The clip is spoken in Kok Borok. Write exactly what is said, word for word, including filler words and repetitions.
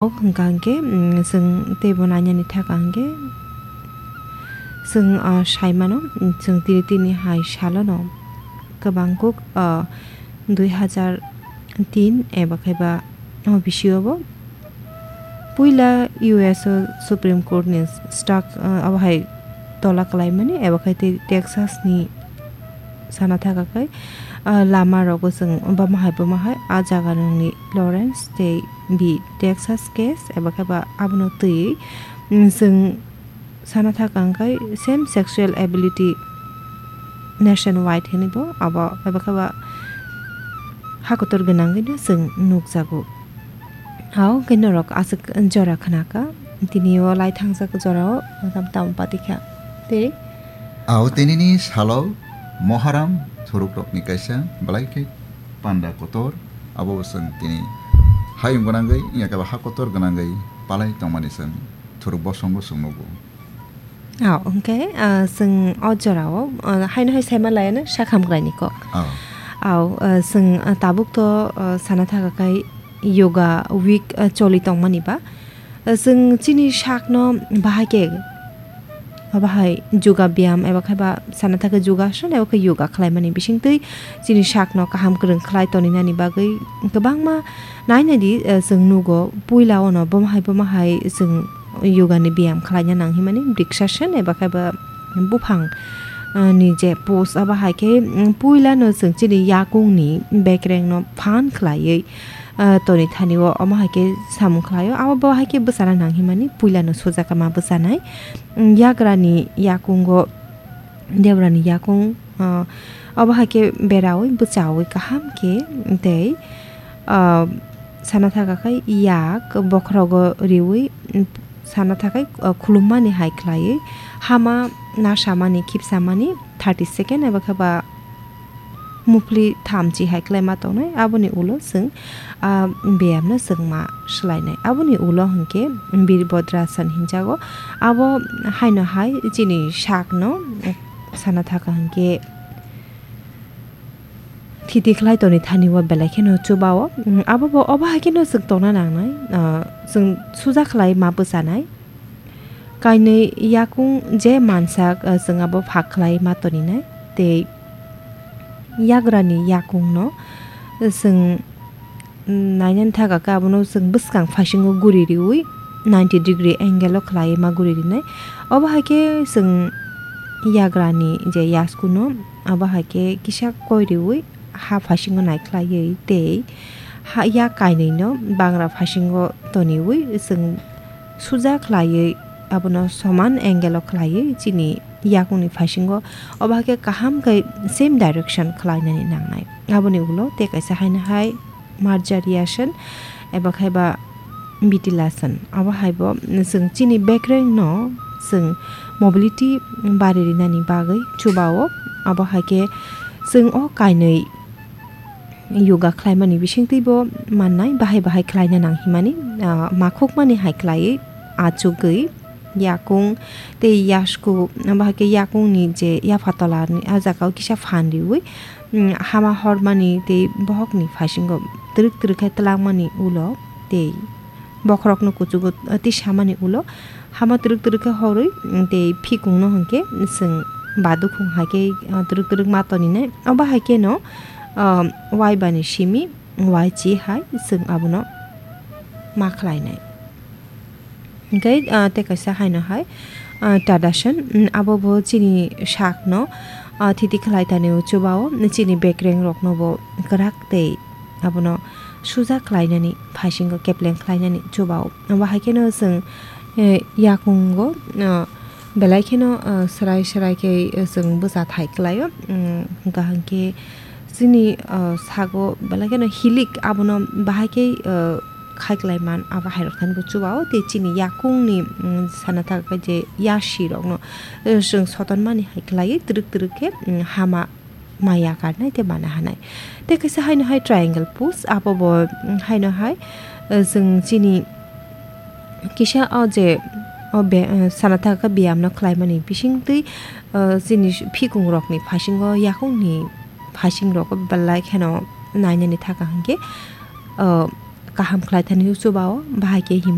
Hwnkha hwnkhe, mm, chwng teibo nainani thaka hwnkhe chwng, ah, saimano, mm, chwng tini, tini hai salono kwbang kuk, ah, dui hazar tin eba khe ba o bisingo bo puila U S o Supreme Court ni stuck, ah, abo hai tola kwlaimani eba khe tei Texas ni sana thaka khe, ah, lama rogo chwng bama hai bama hai a jaga nungni Lawrence tei bi Texas case eba khe ba abono twiwi, mm, chwng sana thaka hwnkhe same sexual ability nationwide hinwi bo abo eba khe ba hakotor gwnangwi no chwng nukjago. Hao hwnkhe norok aswk jora khna kha, tini o lai thangjak jorao tam tam pati kha. Tei Ao tinini salo Moharam thuruk rokni kaisa belai khe panda kotor, abo bo chwng tini hayung gwnangwi, wngya khe ba ha kotor gwnangwi palai tongmani chwng thuruk bosongo chwng nugo. Ao, hwnkhe, ah, chwng o jorao, ah, haino hai saima laiano sak hamkraini kok. Ao. Ao, ah, chwng, ah, tabuk to, ah, sana thaka khai yoga week, ah, choli tongmani ba. Ah, chwng chini sakno bahai khe, bahai yoga byam eba khe ba sana thaka yogason eba khe yoga khlaimani bisingtwi chini sakno kaham kwrwng khlai toninani bagwi kwbangma nainani, ah, chwng nugo. Puila ono boma hai boma hai chwng yoga ni biyam khlaina nang himani, briksasana eba khe ba buphang, ah, ni je pose abo hai khe, mm, puila no chwng chini yakung ni bekreng no phan khlaiwi, ah, toni thani o omo hai khe samung khlaio. Abo bo hai khe bwchana nang himani puila no sujaka ma bwchanai, mm, yagra ni yakungo Debra ni yakung, ah, obo hai khe beraui bwchaui kaham khe tei, ah, sana thaka khai yak bokhorogo riui, mm, sana thakai, ah, khulummani hai khlaiwi hama nasamani khipsamani thirty second eba khe ba muphli thamchi hai khlaima tongnai. Aboni ulo chwng, ah, beyamno chwngma swlainai. Aboni ulo hwnkhe Birbodrasan hinjago. Abo haino hai chini sakno sana thaka hwnkhe thiti khlai toni thani o belai kheno chubao. Mm, abo bo obo hai kheno chwng tongna nangnai. Ah, chwng suja khlai ma bwchanai. Kainwi yakung je mansak, ah, chwng abo phak khlai ma toninai. Tei yagrani yakungno chwng nainani thaka khe abono chwng bwskang phasingo guri riui ninety degree angle o khlai ma guri rinai. Obo hai khe chwng yagrani je yaskuno abo hai khe kisa koi riui ha phasingo nai khlaiwi tei ha yak kainwino bangra phasingo toniui chwng suja khlaiwi abono soman angle o khlaiwi chini yakungni phasingo obo hai khe kaham khe same direction khlainani nangnai. Aboni ulo tei kaisa haino hai Marjariasan eba khai ba Vitilasan. Abo hai bo chwng chini bekreng no chwng mobility bari rinani bagwi chubao. Abo hai khe chwng o kainwi yoga khlaimani bisingtwi bo mannai bahai bahai khlaina nang himani, ah, makhukmani hai khlaiwi achugwi yakung tei yasku, bahai khe yakungni je yapha tola ni ah jaga o kisa phan riui, mm, hama hormani tei bohokni phasingo twrwk twrwk khe twlangmani ulo tei bokhorokno kuchugo, ah, tisamani ulo hama twrwk twrwk khe horwi, mm, tei phikungno hwnkhe chwng badukhung hai khe, ah, twrwk twrwk ma toninai. Obo hai kheno, ah, waibani simi waichi hai chwng abono ma khlainai. Hwnkhe, ah, tei kaisa haino hai, ah, Tadasan, mm, abo bo chini sakno, ah, thiti khlai tani o chubao, chini bekreng rokno bo kwrak tei abono suja khlainani, phasingo kepleng khlainani chubao. Abo hai kheno chwng, eh, yakungo, ah, belai kheno, ah, swrai swrai khe, eh, chwng bwsa thai khlaio. Mm, hwnkha hwnkhe chini, ah, sago belai kheno hilik abono bahai khe, ah, khai klai man, abo hai rok thani bo chubao tei chini yakungni, mm, sana thaka khe je yasi rokno, eh, chwng sotonmani hai khlaiwi twrwk twrwk khe, mm, hama maya karnai tei mana hanai. Tei kaisa haino hai triangle pose, abo bo, mm, haino hai, eh, chwng chini kisa o je o be, eh, sana thaka khe biyamno khlaimani bisingtwi, eh, chini phikung rokni phasingo yakungni phasing rok belai kheno nainani thaka hwnkhe, eh, kaham khlaithani chuba-o bahai khe him.